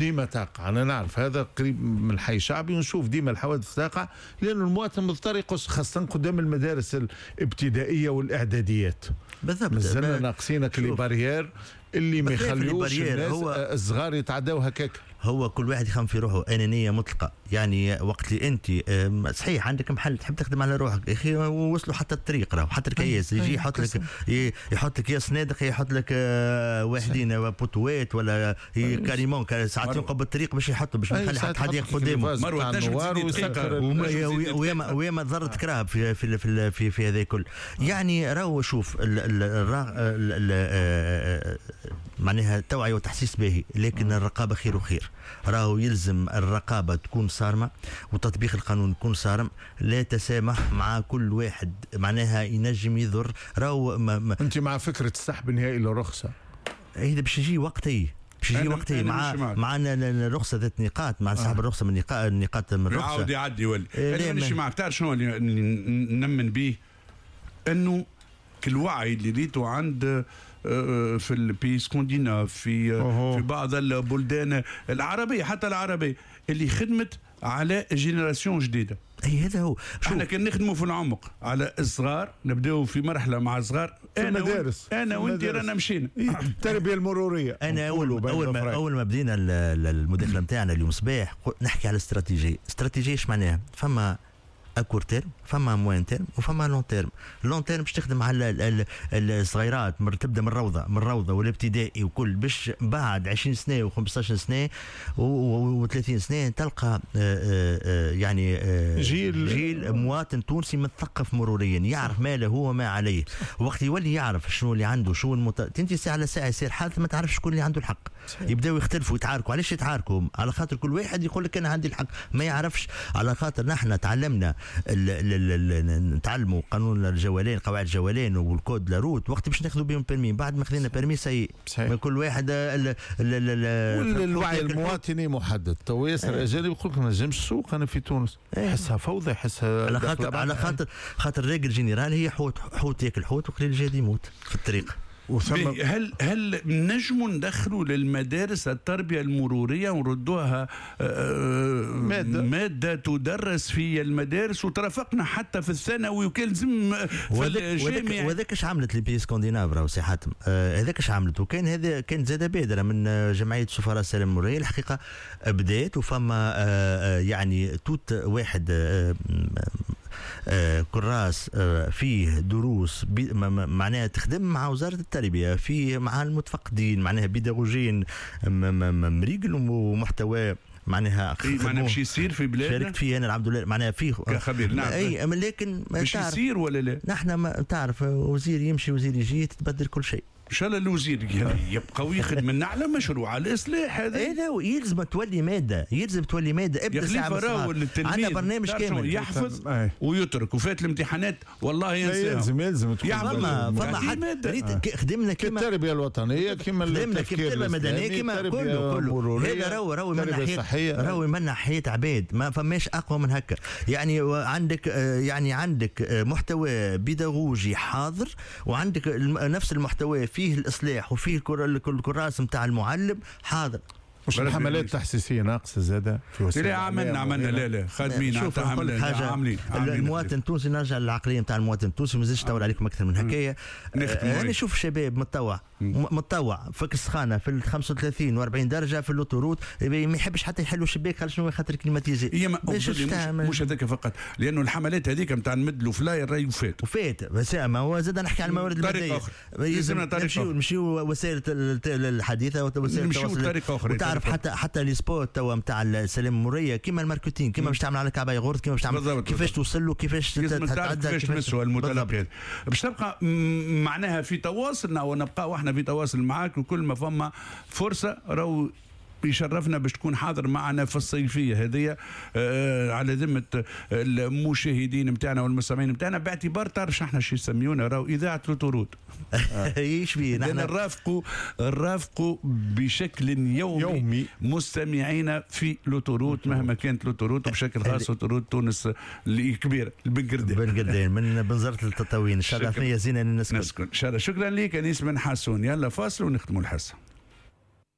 ديما تقع. انا نعرف هذا قريب من الحي الشعبي ونشوف ديما الحوادث تقع، لأن المواطن مضطر يقص، خاصة قدام المدارس الابتدائية والاعداديات. بالضبط، مازلنا ناقصين les barrières اللي ما يخليوش الناس الصغار يتعداو هكاك. هو كل واحد يخمم في روحه، انانية مطلقه. يعني وقت اللي انت صحيح عندك محل تحب تخدم على روحك يا اخي، وصلوا حتى الطريق راهو، حتى الكياس يجي يحط لك، يحط لك يا صنادق، يحط لك واحدين poteau ات ولا carrément ساعات ينقب بالطريق باش يحطوا، باش ما يخلي حتى حد ياخذ قدامه. وياما ضرت كراهب في في في في, في هذا الكل. يعني راهو شوف معناها التوعية والتحسيس باهي، لكن الرقابة خير وخير. راهو يلزم الرقابة تكون صارمة وتطبيق القانون يكون صارم، لا تسامح مع كل واحد معناها ينجم يضر. راهو انت مع فكرة السحب النهائي للرخصه؟ هذا باش يجي وقتي، باش يجي وقتي مع الرخصة ذات نقاط، مع سحب الرخصة من النقاط من الرخصة يعاود يعدي يولي. انا مانيش معك. تعرف شنو اللي نمن به؟ انه الوعي اللي ريته عند في ال pays scandinaves، في بعض البلدان العربية، حتى العربية اللي خدمت على génération جديدة. اي هذا هو. احنا كان نخدموا في العمق على الصغار، نبداو في مرحلة مع الصغار في المدارس. انا وانت رانا مشينا التربية المرورية. انا اول ما بدينا المداخلة نتاعنا اليوم صباح نحكي على استراتيجية. استراتيجية ايش معناها؟ فما à court terme، فما moyen terme، وفما long terme. long terme باش تخدم على الصغيرات، تبدا من الروضة، من الروضة والابتدائي وكل، باش بعد 20 سنة و15 سنة و30 سنة تلقى يعني جيل مواطن تونسي مثقف مروريا، يعرف ما له وما عليه. وقت يولي يعرف شنو اللي عنده، شنو انت ساعة على ساعة يصير حادث ما تعرفش شكون اللي عنده الحق. يبداو يختلفوا يتعاركوا. علاش يتعاركوا؟ على خاطر كل واحد يقول لك انا عندي الحق، ما يعرفش. على خاطر نحن تعلمنا نتعلموا قانون الجولان، قواعد الجولان وال code la route وقت باش ناخذوا بهم permis. بعد ما خذينا permis ça y est، كل واحد الوعي المواطني محدد. تو ياسر اجانب يقول لك ما نجمش السوق انا في تونس، يحسها فوضى، يحسها على خاطر règle générale هي حوت ياكل حوت وقليل الجاد يموت في الطريق. هل نجموا ندخلوا للمدارس التربية المرورية ونردوها مادة تدرس في المدارس وترافقنا حتى في الثانوي وكان لازم في الجامعة؟ وهذاك اش عملت les pays scandinaves راهو سي حاتم، هذاك اش عملت. وكان هذا كان زاد بادرة من جمعية سفراء السلام المرورية الحقيقة بدات، وفما يعني توت واحد كراس فيه دروس معناها تخدم مع وزارة التربية، فيه مع المتفقدين، معناها بيداغوجين مريقل ومحتوى معناها معناها باش يصير في بلادنا. شاركت فيه انا الحمد لله، معناها فيه كخبير. نعم اي، لكن باش يصير ولا لا؟ نحن ما تعرف وزير يمشي وزير يجي تتبدل كل شيء. ان شاء الله الوزير يبقى ويخدم لنا على مشروع على الاصلاح هذا. ايه يلزم تولي مادة، يلزم تولي مادة. ابدا ساعة عندنا برنامج كامل يحفظ ويترك وفات الامتحانات والله ينساها. يلزم فما حد ريت خدمنا كيما التربية الوطنية، كيما التفكير المدني، كيما كله هذا راهو من ناحية، راهو من ناحية عباد ما فماش اقوى من هكا. يعني عندك، يعني عندك محتوى بيداغوجي حاضر، وعندك نفس المحتوى فيه الإصلاح وفيه الكراس نتاع المعلم حاضر. مش الحملات التحسيسيه ناقصه زاده في وسائل؟ لا عملنا لا خادمين. شوف حاجة، عاملين المواطن التونسي، نرجع للعقليه نتاع المواطن التونسي، ما نزيدش نطول عليكم اكثر من هكايا. انا نشوف شباب متطوع فك السخانه في ال 35 و40 درجه في l'autoroute، ما يحبش حتى يحلوا شباك خاطر شنو، خاطر climatisé. مش هذاك فقط، لانه الحملات هذيك نتاع نمدلوا flyer راهي وفات. بس ما هو زاد نحكي على الموارد المادية، لازمنا طريقه نمشيو وسائل الحديثة وسائل التواصل، طريقه اخرى. وتعرف حتى les spots توا نتاع السلام المرورية، كيما ال marketing، كيما باش تعمل على كعبه يغورت، كيما باش تعمل، كيفاش توصل له، كيفاش تتعدى، كيفاش تمسوا المتلقي. باش تبقى معناها في تواصلنا ونبقى واحنا في تواصل معاك، وكل ما فما فرصة راهو يشرفنا باش تكون حاضر معنا في الصيفية هذه على ذمه المشاهدين نتاعنا والمستمعين نتاعنا، باعتبار تعرف احنا شو يسميونا راهو اذاعة l'autoroute. ايش بيه نحن نرافقوا بشكل يومي مستمعينا في l'autoroute مهما كانت l'autoroute، وبشكل خاص l'autoroute تونس الكبيرة البنقردين، بنقردين من بنزرت للتطاوين. ان شاء الله ثنيه زينة نسكن. ان شاء الله. شكرا لك انيس بن حسون. يلا فاصل ونختموا الحصة.